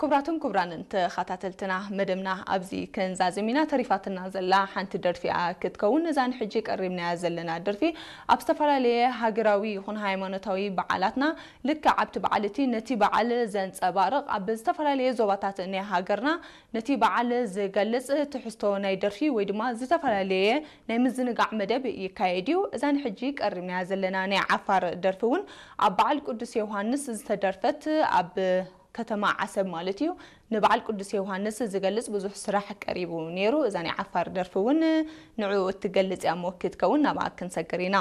ክቡራትን ክቡራንን ተኸታተልትና፣ መደብና ኣብዚ ክንዛዝም ኢና። ተሪፋትና ዘላ ሓንቲ ደርፊ እያ ክትከውን። እዛ ንሕጂ ቀሪብናያ ዘለና ደርፊ ኣብ ዝተፈላለየ ሃገራዊ ይኹን ሃይማኖታዊ በዓላትና፣ ልክዕ ኣብቲ በዓል እቲ ነቲ በዓል ዘንጸባርቕ፣ ኣብ ዝተፈላለየ ዞባታት ናይ ሃገርና ነቲ በዓል ዝገልጽ ትሕዝቶ ናይ ደርፊ ወይ ድማ ዝተፈላለየ ናይ ምዝንጋዕ መደብ ይካየድ እዩ። እዛ ንሕጂ ቀሪብናያ ዘለና ናይ ዓፋር ደርፊ እውን ኣብ በዓል ቅዱስ ዮሃንስ ዝተደርፈት፣ ኣብ ከተማ ዓሰብ ማለት እዩ፣ ንበዓል ቅዱስ ዮሃንስ ዝገልጽ ብዙሕ ስራሕ ቀሪቡ ነይሩ። እዛ ናይ ዓፋር ደርፊ እውን ንዕኡ እትገልጽ እያ እሞ ክትከውን ናብኣ ክንሰግር ኢና።